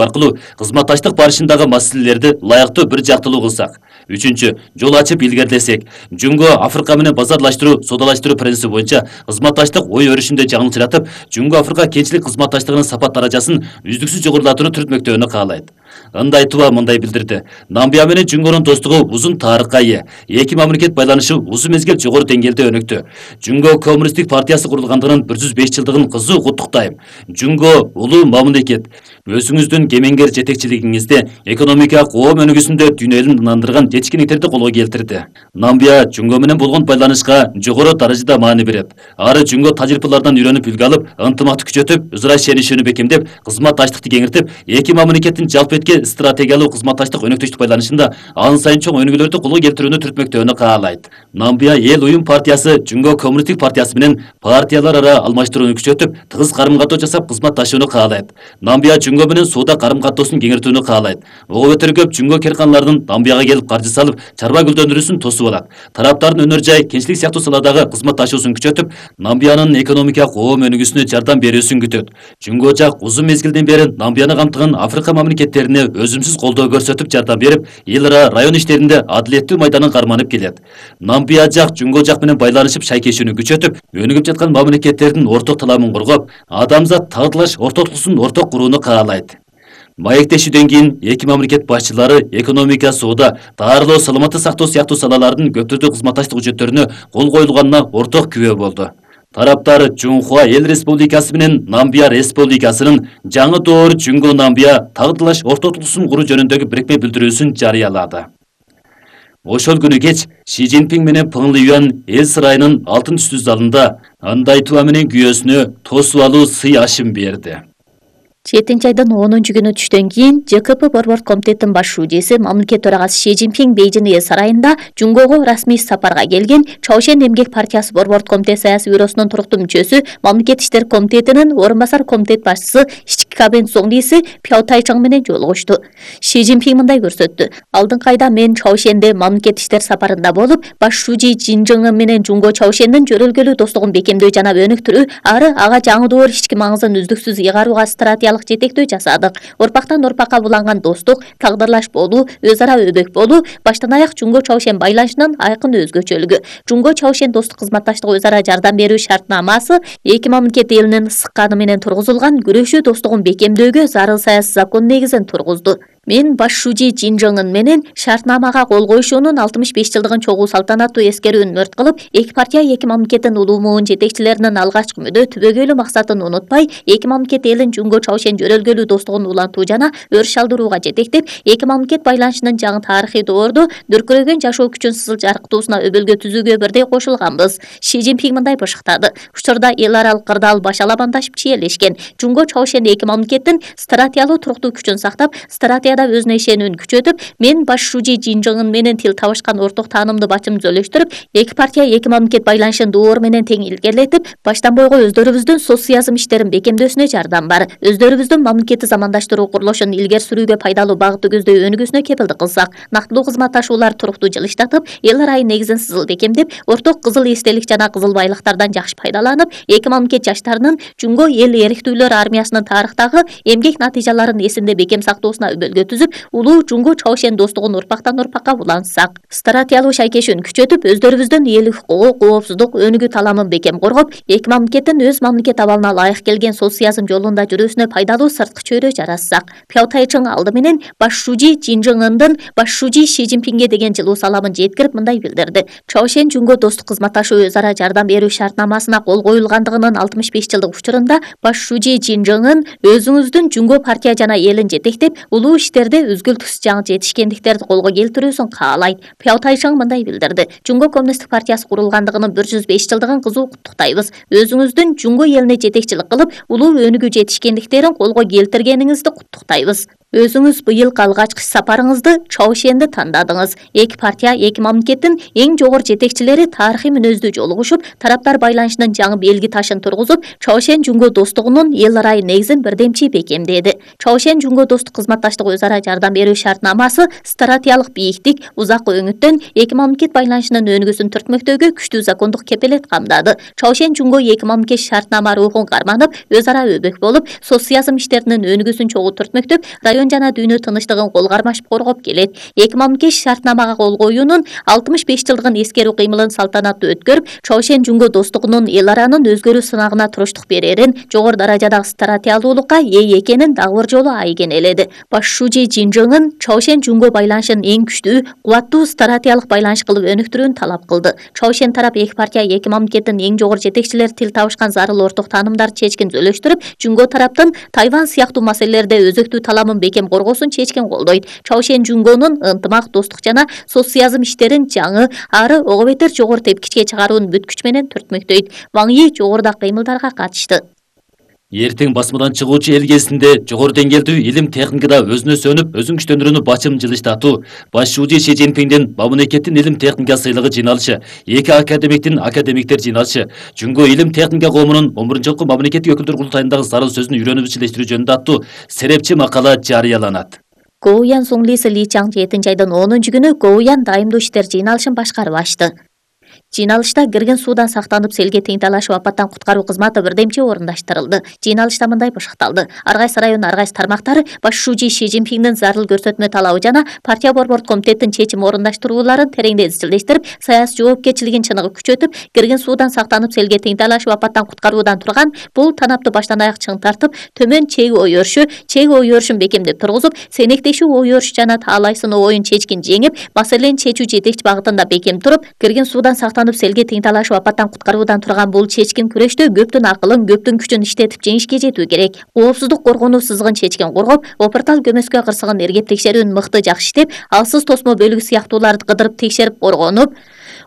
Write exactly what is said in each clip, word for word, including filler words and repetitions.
аркылуу кызматташтык барышындагы маселелерди ылайыктуу бир жактылуу кылсак. Үчүнчү, жол ачып илгерилесек, Жөнгө Африка менен базарлаштыруу, соодалаштыруу принципи боюнча кызматташтык ой өрүшүндө жаңылчыратып, Жөнгө Африка кенчилик кызматташтыгынын сапат даражасын үздүксүз жогорулатууну түртмөктөөнү каалайт. Ындайтыба мындай билдирди. Намибия менен Жөнгөнүн достугу узун тарыхка ээ. Эки мамлекет байланышы узун мезгил жогору деңгээлде өнүктү. Жөнгө Коммунисттик партиясы курулгандыгынын бир жүз беш жылдыгын кызуу куттуктайм. Жөнгө улуу мамлекет. Өзүңүздүн кемеңгер жетекчилигиңизде экономикалык коом өнүгүүсүндө дүйнө элин ынандырган жетишкендиктерди колго келтирди. Намибия Жөнгө менен болгон байланышка жогору даражада маани берет. Ары Жөнгө тажрыйбалардан үйрөнүп үлгү алып, ынтымакты күчөтүп, өзара ишенишүүнү бекемдеп, кызматташтыкты кеңиртип, эки мамлекеттин жалпы эткен стратегиялуу кызматташтык өнөктөштүк байланышында ан сайын чоң өнүгүүлөрдү колго келтирүүнү түртмөктөөнү каалайт. Намибия Эл уюм партиясы Жөнгө Коммунисттик партиясы менен партиялар ара алмаштырууну күчөтүп, тыгыз карым-катоо жасап кызматташууну каалайт. Намибия Жөнгө менен соода карым-катоосун кеңиртүүнү каалайт. Ого бетер көп Жөнгө карканалардын Намибияга келип каржы салып, чарба гүлдөндүрүүсүн тосуп алат. Тараптардын өнөр жай, кенчилик сыяктуу саладагы кызматташуусун күчөтүп, Намибиянын экономикалык коом өнүгүүсүнө жардам берүүсүн күтөт. Жөнгө жак узун мезгилден бери Намибияны камтыган Африка мамлекеттерине өзүмсүз колдоо көрсөтүп жардам берип, эл ара район иштеринде адилеттүү майданын карманып келет. Намибия жак Жөнгө жак менен байланышып шайкешүүнү күчөтүп, өнүгүп жаткан мамлекеттердин орток таламын коргоп, адамзат тагдырлаш ортоктугусун орток курууну каалайт. Маектешүүдөн кийин эки мамлекет башчылары экономика, соода, даарылоо, саламаттык сактоо сыяктуу салалардын көп түрдүү кызматташтык жүчөттөрүнө кол коюлганына орток күбө болду. Тараптар Жунхуа Эл Республикасы менен Намибия Республикасынын жаңы доор Жөнгө Намибия тагдырлаш ортоктугусун куруу жөнүндөгү бирикме билдирүүсүн жарыялады. Ошол күнү кеч Ши Цзиньпин менен Пeng Лиюан эл сарайынын алтын түстүү залында андайтыба менен күйөөсүнө тосуп алуу сый ашым берди. жетинчи айдын онунчу күнү түштөн кийин Ж К П Борбордук комитеттин баш шужеси мамлекет төрагасы Ши Цзиньпин Бейжин эл сарайында Жөнгөгө расмий сапарга келген Чаошен эмгек партиясы Борбордук комитет саясий бюросунун туруктуу мүчөсү, мамлекет иштер комитетинин орун басар комитет башчысы ички кабинет соңдийси Пяо Тайчың менен жолугушту. Ши Цзиньпин мындай көрсөттү. Алдыңкы айда мен Чаошенде мамлекет иштер сапарында болуп, баш шужи Жин Жыңын менен Жөнгө Чаошендин жөрөлгөлүү достугун бекемдөө жана өнүктүрүү, ары ага жаңы доор ички маңызын үздүксүз ыйгарууга стратегиялык жетектөө жасадык. Орпактан орпакка буланган достук, тагдырлаш болуу, өз ара өбөк болуу баштан аяк Жөнгө Чаошен байланышынын айкын өзгөчөлүгү. Жөнгө Чаошен достук кызматташтык өз ара жардам берүү шартнамасы эки мамлекет элинин сыкканы менен тургузулган күрөшүү достугун бекемдөөгө зарыл саясий закон негизин тургузду. Мен баш шужи Жин Жыңын менен шартнамага кол коюшуунун алтымыш беш жылдыгын чогуу салтанаттуу эскерүүнү мөрт кылып, эки партия эки мамлекеттин улуу муун жетекчилеринин алгачкы мүдө түбөгөйлүү максатын унутпай, эки мамлекет элин Жөнгө Чаошен жөрөлгөлүү достугун улантуу жана өрүш алдырууга жетектеп, эки мамлекет байланышынын жаңы тарыхый доордо дүркүрөгөн жашоо күчүн сызыл жарыктуусуна өбөлгө түзүүгө бирдей кошулганбыз. Ши Цзиньпин мындай бышыктады. Учурда эл аралык кырдаал баш алабандашып чиелешкен. Жөнгө Чаошен эки мамлекеттин стратегиялуу туруктуу күчүн сактап, стратегия өзүнө ишенүүнү күчөтүп, мен баш шужи Жин Жыңын менен тил табышкан орток таанымды бачым зөлөштүрүп, эки партия эки мамлекет байланышын доор менен тең илгерилетип, баштан бойго өздөрүбүздүн соцсыязм иштерин бекемдөөсүнө жардам бар. Өздөрүбүздүн мамлекетти замандаштыруу курулушун илгери сүрүүгө пайдалуу багытты көздөй өнүгүүсүнө кепилдик кылсак, нактылуу кызматташуулар туруктуу жылыштатып, эл арайы негизин сызыл бекемдеп, орток кызыл эстелик жана кызыл байлыктардан жакшы пайдаланып, эки мамлекет жаштарынын Жөнгө эл эрктүүлөр армиясынын тарыхтагы эмгек натыйжаларын эсинде бекем сактоосуна өбөлгө түзүп, улуу Жөнгө Чаошен достугун орпактан орпакка улантсак, стратегиялуу шайкешүүнү күчөтүп, өздөрүбүздүн эл укугу, коопсуздук, өнүгүү таламын бекем коргоп, эки мамлекеттин өз мамлекет абалына ылайык келген соцсыязм жолунда жүрүүсүнө пайдалуу сырткы чөйрө жаратсак. Пяо Тайчың алды менен баш шужи Жин Жыңындын баш шужи Ши Цзиньпинге деген жылуу саламын жеткирип мындай билдирди. Чаошен Жөнгө достук кызматташуу өз ара жардам берүү шартнамасына кол коюлгандыгынын алтымыш беш жылдык учурунда баш шужи Жин Жыңын өзүңүздүн Жөнгө партия жана элин жетектеп, улуу иштерде үзгүлтүксүз жаңы жетишкендиктерди колго келтирүүсүн каалайт. Пяо Тайчың мындай билдирди. Жөнгө коммунисттик партиясы курулгандыгынын бир жүз беш жылдыгын кызуу куттуктайбыз. Өзүңүздүн Жөнгө элине жетекчилик кылып, улуу өнүгүү жетишкендиктерин колго келтиргениңизди куттуктайбыз. Өзүңүз быйыл алгачкы сапарыңызды Чаошенди тандадыңыз. Эки партия, эки мамлекеттин эң жогору жетекчилери тарыхый мүнөздүү жолугушуп, тараптар байланышынын жаңы белги ташын тургузуп, Чаошен Жөнгө достугунун эл арайы негизин бирдемчи бекемдеди. Чаошен Жөнгө достук кызматташтык өз өз ара жардам берүү шартнамасы стратегиялык бийиктик, узак өңүттөн эки мамлекет байланышынын өнүгүүсүн түртмөктөөгө күчтүү закондук кепилет камдады. Чаошен Жунго эки мамлекет шартнама рухун карманып, өз ара өбөк болуп, социализм иштеринин өнүгүүсүн чогуу түртмөктөп, район жана дүйнө тынчтыгын кол кармашып коргоп келет. эки мамлекет шартнамага кол коюунун алтымыш беш жылдыгын эскерүү кыймылын салтанаттуу өткөрүп, Чаошен Жунго достугунун эл аранын өзгөрүү сынагына туруштук берерин, жогору даражадагы стратегиялуулукка ээ экенин дагы бир жолу айгинеледи. Баш шужи Жинжыңын Чаошен Жунго байланышын эң күчтүү, кубаттуу стратегиялык байланыш кылып өнүктүрүүнү талап кылды. Чаошен тарап эки партия эки мамлекеттин эң жогору жетекчилери тил табышкан зарыл орток таанымдарды чечкин зөөлөштүрүп, Жунго тараптын Тайвань сыяктуу маселелерде өзөктүү таламын бекем коргоосун чечкин колдойт. Чаошен Жунгонун ынтымак, достук жана социализм иштерин жаңы, ары ого бетер жогору тепкичке чыгаруун бүт күч менен түртмөктөйт. Ваң Yi жогорудагы кыймылдарга катышты. Эртең басмадан чыгуучу эл кезинде жогору деңгээлдүү илим техникада өзүнө сөнүп, өзүн күчтөндүрүүнү бачым жылыштатуу, баш шужи Си Цзиньпиңдин мамлекеттин илим техника сыйлыгы жыйналышы, эки академиктин академиктер жыйналышы, Жунго илим техника коомунун он биринчи жолку мамлекеттик өкүлдөр курултайындагы зарыл сөзүн үйрөнүп ичилештирүү жөнүндө аттуу серепчи макала жарыяланат. Гоуян Суңлиси Ли Чаң жетинчи айдын онунчу күнү Гоуян дайымдуу иштер жыйналышын башкарып ачты. Жыйналышта кирген суудан сактанып селге тең талашып апаттан куткаруу кызматы бирдемчи орундаштырылды. Жыйналышта мындай бышыкталды: ар кайсы райондун ар кайсы тармактары баш шужи Си Цзиньпиңдин зарыл көрсөтмө талабы жана партия борбордук комитеттин чечим орундаштырууларын тереңдей изчилдештирип, саясий жоопкерчилигин чыныгы күчөтүп, кирген суудан сактанып селге тең талашып апаттан куткаруудан турган бул танапты баштан аяк чың тартып, төмөн чеги ой өрүшү, чеги ой өрүшүн бекемдеп тургузуп, сенектешүү ой өрүш жана таалай сыноо оюн чечкин жеңип, маселени чечүү жетекчи багытында бекем туруп, кирген суудан сактанып селге тең талашып апаттан куткаруудан турган бул чечкин күрөштө көптүн акылын, көптүн күчүн иштетип жеңишке жетүү керек. Коопсуздук коргонуу сызыгын чечкин коргоп, опуртал көмөскө кырсыгын эргеп текшерүүнү мыкты жакшы иштеп, алсыз тосмо бөлүгү сыяктууларды кыдырып текшерип коргонуп,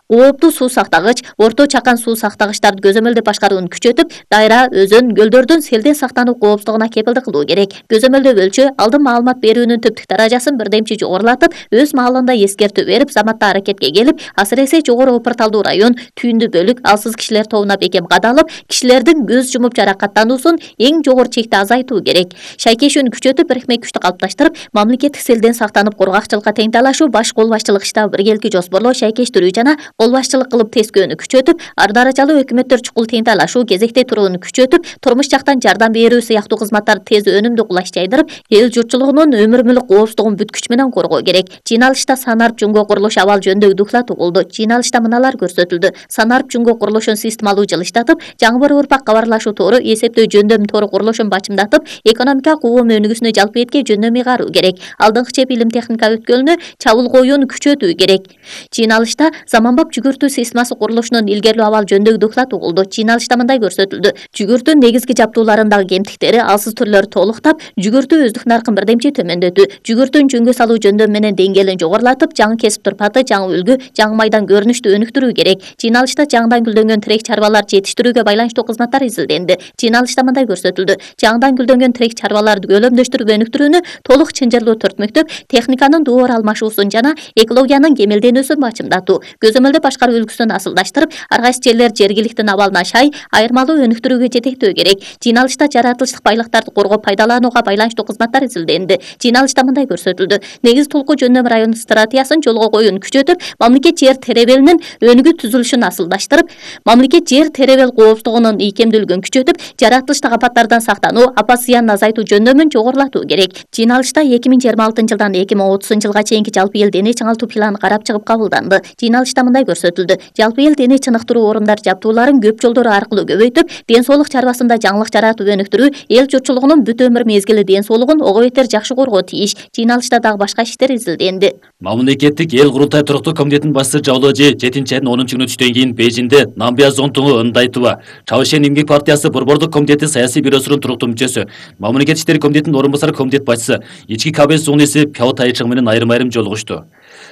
кооптуу суу сактагыч, орто чакан суу сактагычтарды көзөмөлдөп башкарууну күчөтүп, дайра, өзөн, көлдөрдүн селден сактануу коопсуздугуна кепилдик кылуу керек. Көзөмөлдөп өлчө, алдын маалымат берүүнүн түптүк даражасын бирдемчи жогорулатып, өз маалында эскертүү берип, заматта аракетке келип, асыресе жогору опурталдуу район, түйүндү бөлүк, алсыз кишилер тобуна бекем кадалып, кишилердин көз жумуп жаракаттануусун эң жогору чекте азайтуу керек. Шайкешүүнү күчөтүп, бирикме күчтү калыпташтырып, мамлекеттик селден сактанып коргакчылыкка тең талашуу, баш кол башчылык штабы биргеликти жоспорлоо, шайкештирүү жана кол башчылык кылып тескөөнү күчөтүп, ар даражалуу өкмөттөр чукул тең талашуу, кезекте турууну күчөтүп, турмуш жактан жардам берүү сыяктуу кызматтарды тез өнүмдүү кулаш жайдырып, эл журтчулугунун өмүр мүлк коопсуздугун бүт күч менен коргоо керек. Жыйналышта Санарп Жунго курулуш абал жөнүндө доклад угулду. Жыйналышта мыналар көрсөтүлдү: Санарп Жунго курулушун системалуу жылыштатып, жаңы бір урпак кабарлашуу тору, эсептөө жөндөм тору курулушун бачымдатып, экономика куум өнүгүүсүнө жалпы этке жөндөм ыйгаруу керек. Алдыңкы чеп илим техника өткөлүнө чабуул коюуну күчөтүү керек. Жыйналышта заманбап жүгүртүү системасы курулушунун илгерилүү абал жөнүндө доклад угулду. Жыйналышта мындай көрсөтүлдү: жүгүртүн негизги жаптууларындагы кемтиктери, алсыз түрлөрү толуктап, жүгүртүү өздүк наркын бирдемчи төмөндөтүү, жүгүртүн жөнгө салуу жөндөм менен деңгээлин жогорулатып, жаңы кесип турпаты, жаңы үлгү, жаңы майдан көрүнүштү өнүктүрүү керек. Жыйналышта жаңыдан гүлдөнгөн тирек чарбаларды жетиштирүүгө байланыштуу кызматтар изилденди. Жыйналышта мындай көрсөтүлдү: жаңыдан гүлдөнгөн тирек чарбаларды көлөмдөштүрүп өнүктүрүүнү толук чынжырлуу түртмөктөп, техниканын доор алмашуусун жана экологиянын кемелденүүсүн бачымдатуу, көзөмөлдөп башкаруу үлгүсүн асылдаштырып, ар кайсы жерлер жергиликтин абалына шай, айырмалуу өнүктүрүүгө жетектөө керек. Жыйналышта жаратылыштык байлыктарды коргоп пайдаланууга байланыштуу кызматтар изилденди. Жыйналышта мындай көрсөтүлдү: негиз толку жөндөм району стратегиясын жолго коюуну күчөтүп, мамлекет жер теребелинин өнүгүү түзүлүшүн асылдаштырып, мамлекет жер теребел коопсуздугунун ийкемдүүлүгүн күчөтүп, жаратылыштык апаттардан сактануу, апат зыянын азайтуу жөндөмүн жогорулатуу керек. Жыйналышта эки миң жыйырма алтынчы жылдан эки миң отузунчу жылга чейинки жалпы эл дене чыңалтуу планы карап чыгып кабылданды. Жыйналышта мындай көрсөтүлдү: жалпы эл дене чыныктыруу орундар жаптууларын көп жолдор аркылуу көбөйтүп, ден соолук чарбасында жаңылык жаратып өнүктүрүү эл журтчулугунун бүт өмүр мезгили ден соолугун ого бетер жакшы коргоо тийиш. Жыйналышта дагы башка иштер изилденди. Мамлекеттик эл курултай туруктуу комитетинин башчысы Жаоложи жетинчи айдын онунчу күнү түштөн кийин Бейжиңде Намбия Зонтуңу Ындайтова, Чаошен эмгек партиясы борбордук комитети саясий бюросунун туруктуу мүчөсү, мамлекет иштери комитетинин орун басары комитет башчысы Ички Кабель Суңлиси Пяо Тайчың менен айрым-айрым жолугушту.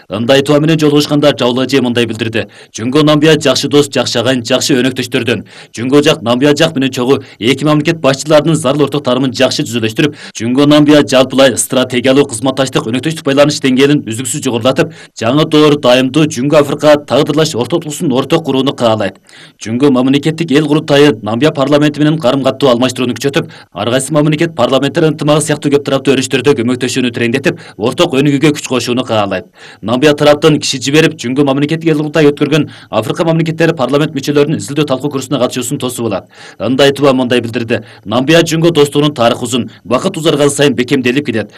Ындай айтуу менен жолугушканда Жавлажы мындай билдирди. Жөнгө Намбия жакшы дос, жакшы агайын, жакшы өнөктөштөрдөн. Жөнгө жак Намбия жак менен чогуу эки мамлекет башчыларынын зарыл ортоктарымын жакшы түзүлүштүрүп, Жөнгө Намбия жалпылай стратегиялык кызматташтык өнөктөштүк байланыш деңгээлин үздүксүз жогорулатып, жаңы доор дайымдуу Жөнгө Африка тагдырлаш ортотулуусун орток курууну каалайт. Жөнгө мамлекеттик эл курултайы Намбия парламенти менен карым-каттуу алмаштырууну күчөтүп, ар кайсы мамлекет парламенттер ынтымагы сыяктуу көп тараптуу өрүштөрдө көмөктөшүүнү тереңдетип, орток өнүгүүгө күч кошууну каалайт. Намбия тараптан киши жиберип, Жөнгө мамлекеттик эл курултай өткөргөн Африка мамлекеттери парламент мүчөлөрүнүн изилдөө талкуу курсуна катышуусун тосуп алат. Ындай айтууга мындай билдирди. Намбия Жөнгө достугунун тарыхы узун, убакыт узарган сайын бекемделип кетет.